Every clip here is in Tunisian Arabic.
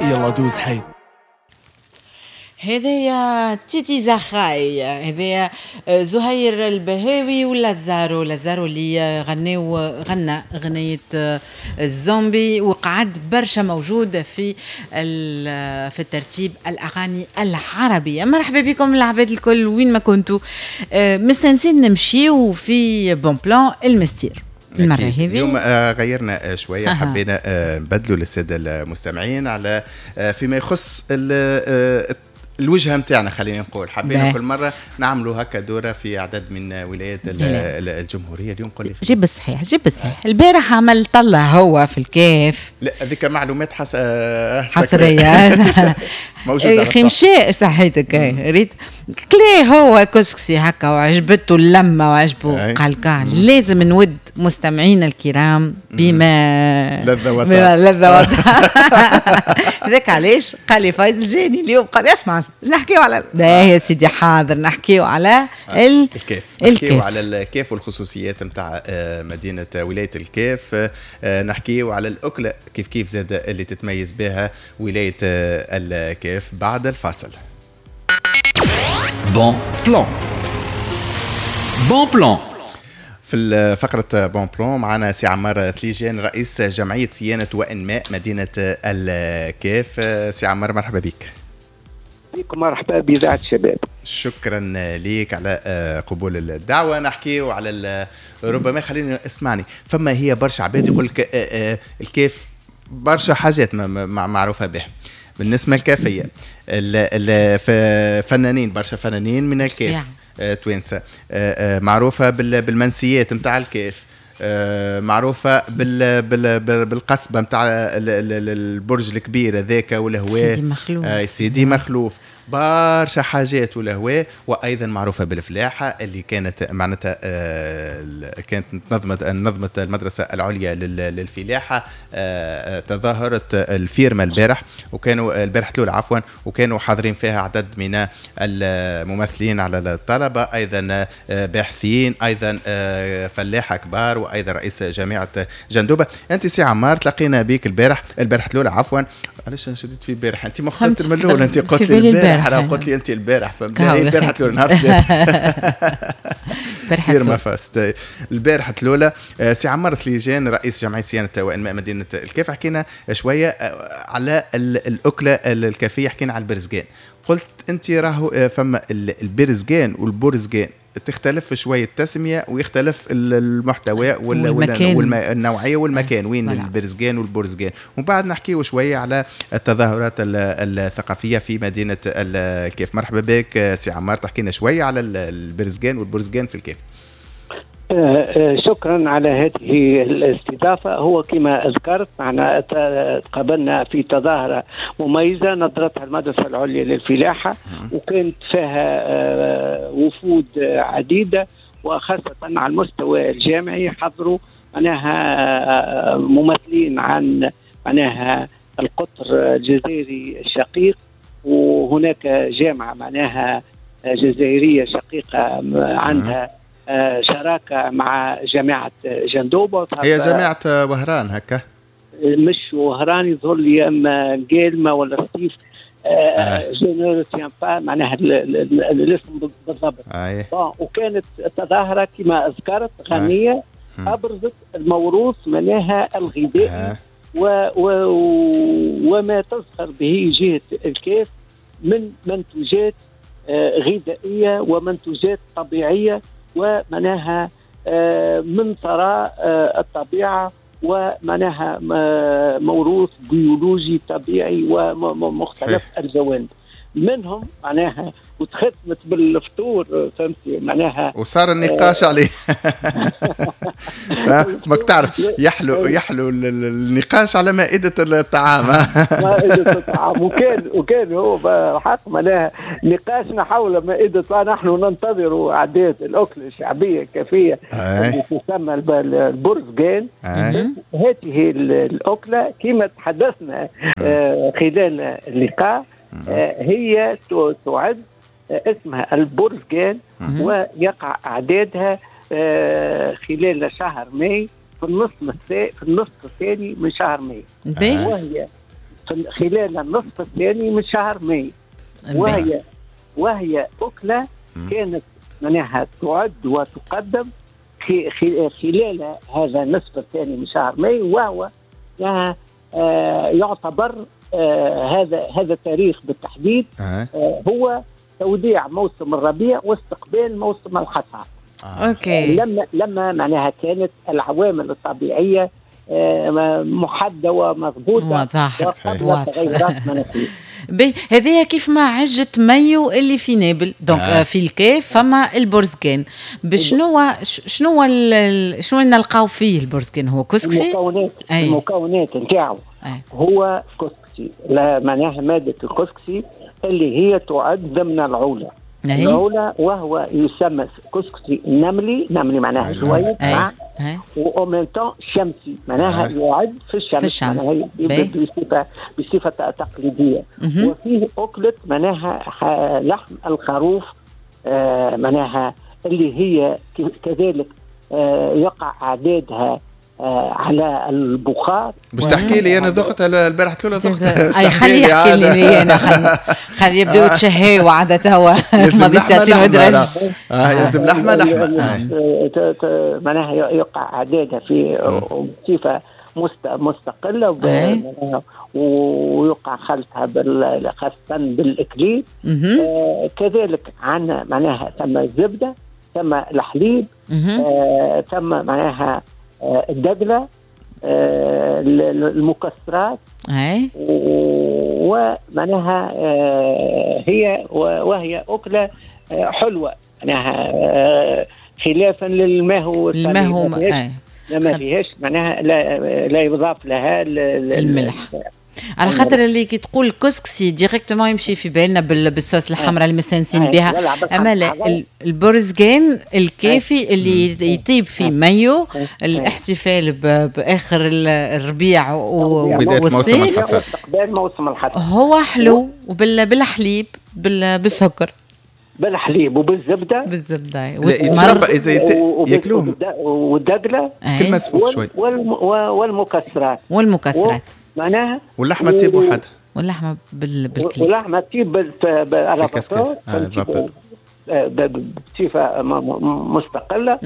يلا دوز حي. هذايا تيتي زخاي، هذايا زهير البهاوي ولازارو، لازارو اللي غنى غنية الزومبي وقعد برشا موجود في الترتيب الأغاني العربية. مرحبا بكم العباد الكل وين ما كنتوا، مستنسين نمشيو في bon plan المستير المرة هذه. اليوم غيرنا شوية، حبينا نبدلوا للسادة المستمعين على فيما يخص الوجهة نتاعنا، خلينا نقول حبينا كل مرة نعملوا هكا دوره في عدد من ولايات الجمهورية. اليوم قول لي جيب الصحيح، جيب الصحيح. البارح عمل طلع هو في الكاف. لا هذيك معلومات حصرية موجودة. اخي مشى صحيتك، ريت كلي هو كسكسي هكا وعجبته اللمة وعجبه، قال كان لازم نود مستمعينا الكرام بما لذ وطاب. لذ وطاب. هذاك علاش قال لي فايز الجاني اليوم، قال اسمع نحكيو على يا سيدي، حاضر نحكيو على الكاف، نحكيو على الكاف والخصوصيات نتاع مدينة ولاية الكاف، نحكيو على الاكلة كيف كيف زاد اللي تتميز بها ولاية الكاف بعد الفاصل. bon plan، bon plan. في فقرة bon plan معنا سي عمار ثليجان رئيس جمعية صيانة وإنماء مدينة الكاف. سي عمار مرحبا بك. مرحبا بإذاعة الشباب. شكرا ليك على قبول الدعوة. نحكيو على ربما خليني اسمعني، فما هي برشا عباد يقول لك الكاف برشا حاجات معروفة به بالنسبة الكافية، فنانين برشا فنانين من الكاف توانسة، معروفة بالمنسيات نتاع الكاف، معروفة بالقصبة نتاع البرج الكبير هذاك والهواء سيدي مخلوف، سيدي مخلوف، برشا حاجات والهواء، وايضا معروفة بالفلاحه اللي كانت معناتها كانت نظمت المدرسة العليا للفلاحه تظاهرت الفيرما البارح، وكانوا البارح الاولى عفوا، وكانوا حاضرين فيها عدد من الممثلين على الطلبة، ايضا باحثين، ايضا فلاحة كبار، وايضا رئيس جامعه جندوبه. انت سي عمار تلاقينا بك البارح الاولى عفوا، علاش شديت في البارح؟ انت ما خدت من الاول، انت قلت لي البارح، انا قلت لي انت البارح، فهمت؟ البارح الاولى نهار فيرما فاست البارح الاولى. سي عمار ثليجان رئيس جمعية صيانة وانماء مدينة الكاف، حكينا شوية على الاكلة الكافيه، حكينا على البرزقان، قلت انت راهو فما البرزقان والبرزقان تختلف شوية التسمية ويختلف المحتوى والنوعيه والمكان وين البرزقان والبرزقان، ومن بعد نحكيو شوية على التظاهرات الثقافية في مدينة الكاف. مرحبا بك سي عمار، تحكينا شوية على البرزقان والبرزقان في الكاف. شكرا على هذه الاستضافة. هو كما ذكرت معنا تقابلنا في تظاهرة مميزة نظرتها المدرسة العليا للفلاحة، وكانت فيها وفود عديدة، وخاصة على المستوى الجامعي حضروا معناها ممثلين عن معناها القطر الجزائري الشقيق، وهناك جامعة معناها جزائرية شقيقة عندها شراكة مع جامعة جندوبة. هي جامعة وهران هكا؟ مش وهران يظهر لي، أما قالمة ولا سطيف، je ne retiens pas معناها الاسم بالضبط. وكانت تظاهرة كما ذكرت غنية، أبرزت الموروث معناها الغذائي وما تزخر به جهة الكاف من منتوجات غذائية ومنتوجات طبيعية، ومعناها من ثراء الطبيعة، ومعناها موروث بيولوجي طبيعي ومختلف الجوانب منهم معناها، وتختمت بالفطور فهمتي معناها، وصار النقاش عليه. ماك تعرف يحلو النقاش على مائدة الطعام. مائدة الطعام، وكان هو بحق معناها نقاشنا حول مائدة، نحن ننتظر أعداد الأكلة الشعبية الكافية اللي تسمى البرزقان. هذه الأكلة كما تحدثنا خلال اللقاء هي تعد اسمها البرزقان، ويقع اعدادها خلال شهر ماي في النصف الثاني من شهر ماي، وهي خلال النصف الثاني من شهر ماي، وهي أكلة كانت معناها تعد وتقدم خلال هذا النصف الثاني من شهر ماي، وهو يعتبر هذا التاريخ بالتحديد هو توديع موسم الربيع واستقبال موسم الحصاد. OK. لما معناها كانت العوامل الطبيعية محددة ومضبوطه وقبل تغيرات مناخيه. هذه كيف ما عجة مايو اللي في نابل، donc في الكاف فما البرزقان. بشنو شنو شنو نلقاو فيه البرزقان؟ هو كسكسي. المكونات نتاعو هو كسكسي، لا معناها مادة الكسكسي اللي هي تعد ضمن العوله. العولة وهو يسمى كسكسي نملي، نملي معناها شوية و en même temps شمسي، معناها يعد في الشمس، معناها بصفة تقليدية. وفيه أكلة معناها لحم الخروف، معناها اللي هي كذلك يقع أعدادها على البخار. باش تحكي لي انا ذقت البارح تقول ذقت. اي خليه يحكي لي انا، خلي يبداو يتشهاو عادة توا ماضي ساعتين ودرج. يلزم لحمه لحمه معناها يقع اعدادها في بصفة مستقلة، ويقع خلطها خاصة بالاكليل. كذلك عندنا معناها ثم الزبدة، ثم الحليب، ثم معناها الدقلة، المكسرات، ومعناها هي وهي أكلة حلوة، معناها خلافا للماهو. الماهو ما فيهاش معناها لا يضاف لها الملح. على خاطر اللي كي تقول كسكسي directement يمشي في بالنا بالصوص الحمراء اللي مستانسين بها، اما لا، البرزقان الكافي اللي يطيب في مايو، الاحتفال باخر الربيع والصيف واستقبال موسم الحصاد، هو حلو وبالحليب بالسكر، بالحليب وبالزبده، بالزبده والتمر ياكلوهم والدقله كل مسفوف شوي والمكسرات، والمكسرات معناها، واللحمة تطيب وحدها، واللحمة بالكليب، واللحمة تطيب بصفة مستقلة.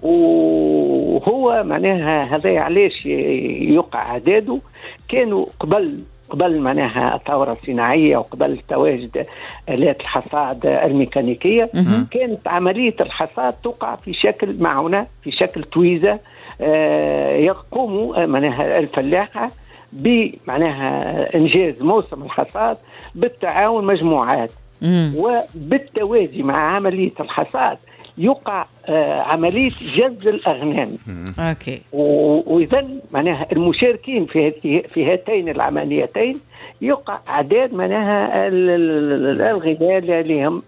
وهو معناها هذا علاش يقع عداده. كانوا قبل معناها الثورة الصناعية وقبل تواجد آلات الحصاد الميكانيكية، كانت عملية الحصاد تقع في شكل معونة، في شكل تويزة، يقوم معناها الفلاحة بمعناها إنجاز موسم الحصاد بالتعاون مجموعات، وبالتوازي مع عملية الحصاد يقع عملية جز الأغنام. OK. وإذا معناها المشاركين في هاتين العمليتين يقع أعداد معناها الغذاء لهم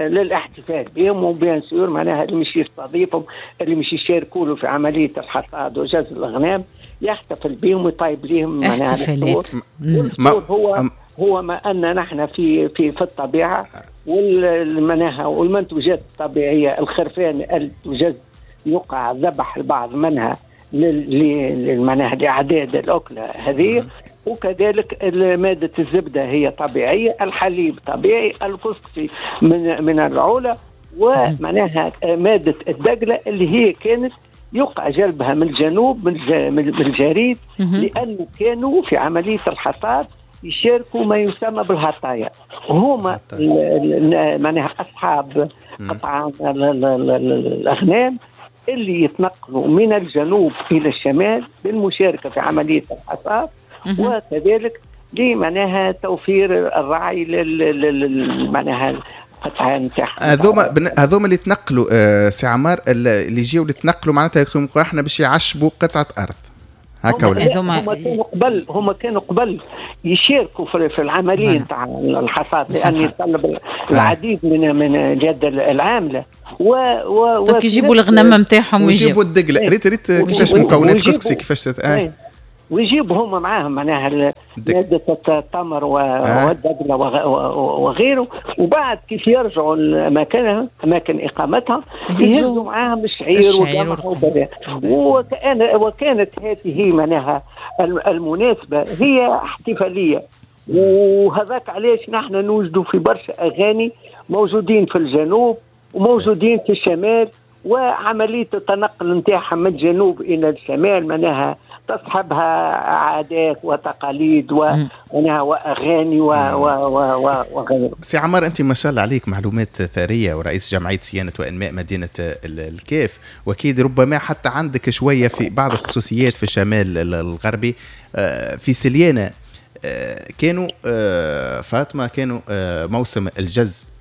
للاحتفال بهم، و bien sûr معناها اللي مش يستضيفهم، اللي مش يشاركوا له في عملية الحصاد وجز الأغنام يحتفل بهم ويطيب لهم معناها احتفالات. هو ما أن نحن في في في الطبيعة والمناها والمنتوجات الطبيعية، الخرفان التوجد يقع ذبح البعض منها للمناها لأعداد الأكلة هذه، وكذلك مادة الزبدة هي طبيعية، الحليب طبيعي، الكسكسي من العولة، ومعناها مادة الدقلة اللي هي كانت يقع جلبها من الجنوب من الجريد، لأنه كانوا في عملية الحصاد يشاركوا ما يسمى بالهطايا، هما معناها أصحاب قطعان الأغنام اللي يتنقلوا من الجنوب إلى الشمال بالمشاركة في عملية الحصاد، وكذلك لمعناها توفير الرعي معناها هذوما اللي تنقلوا سي عمار، اللي يجيو اللي تنقلوا معناتها احنا باش يعشبوا قطعة أرض هكا ولا؟ هما كانوا قبل يشاركوا في العملية نتاع الحصاد، لان يتطلب العديد من اليد العاملة و يجيبوا الغنم نتاعهم ويجيبوا الدقله. ريت كيفاش مكونات كسكسي كيفاش ويجيبوا هما معاهم معناها مادة التمر والدقلة وغيره. وبعد كيف يرجعوا لأماكنها، أماكن إقامتها، يهزوا معاهم الشعير والقمح وكذا. وكانت هذه معناها المناسبة هي احتفالية. وهذاك علاش نحن نوجدوا في برشا أغاني موجودين في الجنوب وموجودين في الشمال، وعملية التنقل نتاعها من الجنوب إلى الشمال معناها تصحبها عادات وتقاليد وأغاني وغيره. سي عمار، أنت ما شاء الله عليك معلومات ثرية ورئيس جمعية صيانة وإنماء مدينة الكاف، وأكيد ربما حتى عندك شوية في بعض الخصوصيات في الشمال الغربي. في سليانة كانوا فاطمة كانوا موسم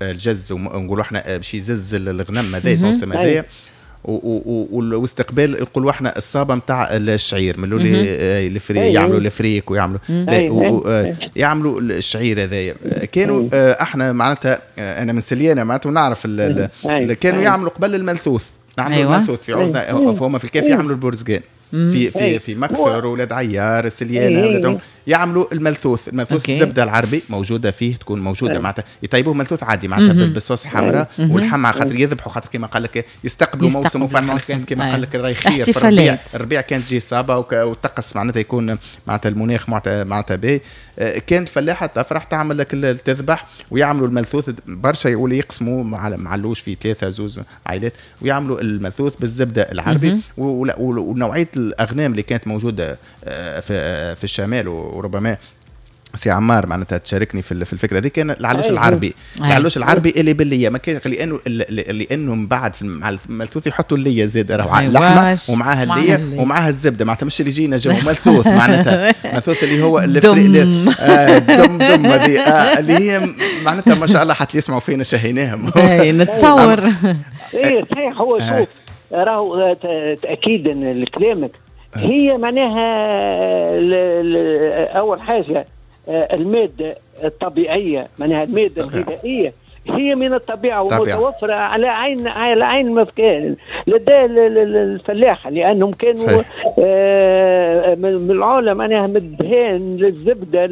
الجز ونقولوا احنا باش يزز الغنم هذا الموسم هذايا، واستقبال يقولوا احنا الصابه نتاع الشعير من الفريك، يعملوا الفريك ويعملوا يعملوا الشعير هذايا. كانوا احنا معناتها انا من سليانه معناتها ونعرف كانوا يعملوا قبل الملثوث، نعملوا الملثوث في عوضنا، فهم في الكاف يعملوا البرزقان في في في مكفر ولاد عيار سليانه ولاد يعملوا الملثوث. الزبدة العربي موجودة فيه، تكون موجودة معناتها يطيبوه ملثوث عادي معناتها بالصوص حمراء والحمعه، خاطر يذبحوا، خاطر كما قال لك يستقبلوا موسم وفرحه، كما قال لك راهي خير في الربيع كانت تجي صابه والطقس معناتها يكون معناتها المناخ معناتها باهي. كانت فلاحة تفرح تعمل لك تذبح ويعملوا الملثوث برشا، يقولوا يقسموا معلوش في 3 2 عائلات ويعملوا الملثوث بالزبده العربي. ونوعية الاغنام اللي كانت موجودة في الشمال، وربما سي عمار معناتها تشاركني في الفكرة دي، كان العلوش العربي. العلوش العربي اللي بالليه ما كان، لانه من بعد مع الملثوث يحطوا الليه زاد، راهو اللحمة ومعاها الليه ومعاها الزبدة، معناتها مش اللي يجينا جو ملثوث معناتها ملثوث اللي هو دم دم هذه اللي هي معناتها ما شاء الله حتى يسمعوا فينا شهيناهم. نتصور ايه صحيح. هو شوف راهو تاكيدا لكلامك، هي معناها اول حاجة المادة الطبيعية، معناها المادة الغذائية هي من الطبيعة ومتوفره على عين مكان لدى الفلاحة، لانهم كانوا من العلا معناها من الدهان للزبده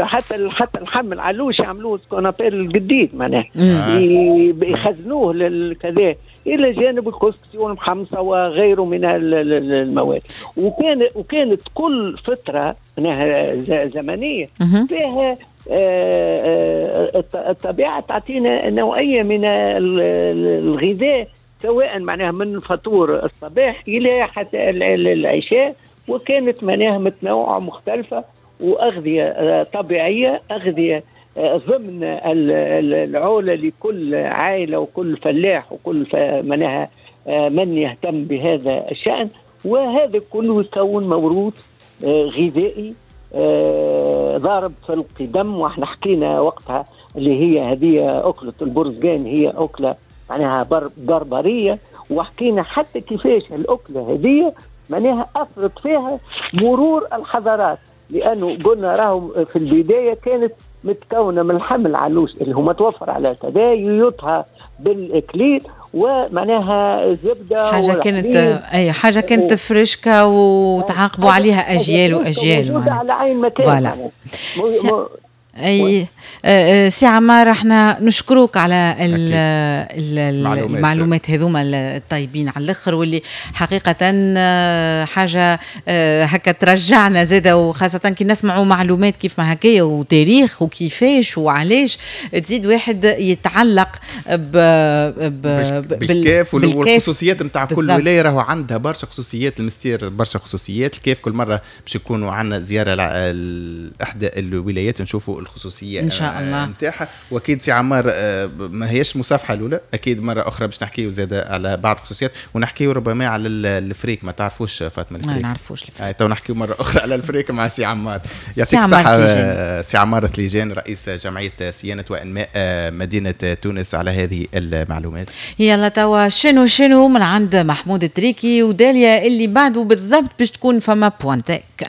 حتى اللحم العلوش يعملوه ce qu'on appelle القديد معناها يخزنوه للكذا، الى جانب الكسكسي والمحمصه وغيره من المواد. وكانت كل فترة معناها زمنية فيها الطبيعة تعطينا نوعية من الغذاء، سواء معناها من فطور الصباح الى حتى العشاء، وكانت معناها متنوعة مختلفة واغذيه طبيعية، اغذيه ضمن العولة لكل عائلة وكل فلاح وكل معناها من يهتم بهذا الشأن. وهذا كله يكون موروث غذائي ضارب في القدم. واحنا حكينا وقتها اللي هي هذه أكلة البرزقان هي أكلة معناها بربرية، وحكينا حتى كيفاش الأكلة هذه معناها أثرت فيها مرور الحضارات، لأنه قلنا راهم في البداية كانت متكونة من لحم العلوش اللي هو متوفر على كذا، يطهى بالإكليل ومعناها زبدة، حاجة كانت أي حاجة كانت فريشكة وتعاقبوا عليها أجيال وأجيال على عين مكان. اي سي عمار، احنا نشكروك على المعلومات هذوما الطيبين على الاخر، واللي حقيقة حاجة هكا ترجعنا زاده، وخاصة كي نسمعوا معلومات كيف ما هكايا وتاريخ وكيفاش وعلاش، تزيد واحد يتعلق بالكاف والخصوصيات نتاع كل ولاية. راهو عندها برشا خصوصيات، المستير برشا خصوصيات. الكاف كل مرة باش يكونوا عندنا زيارة لاحدى الولايات نشوفوا الخصوصية ان شاء الله نتاعها. واكيد سي عمار ما هيش مصافحه الاولى، اكيد مرة اخرى باش نحكيو زاد على بعض الخصوصيات، ونحكيو ربما على الفريك. ما تعرفوش فاطمة الفريك؟ ما نعرفوش الفريك. تو نحكيو مرة اخرى على الفريك مع سي عمار. يعطيك الصحة سي عمار ثليجان، رئيس جمعية صيانة وانماء مدينة تونس، على هذه المعلومات. يلا توا شنو من عند محمود التريكي وداليا اللي بعده بالضبط باش تكون فما point tech.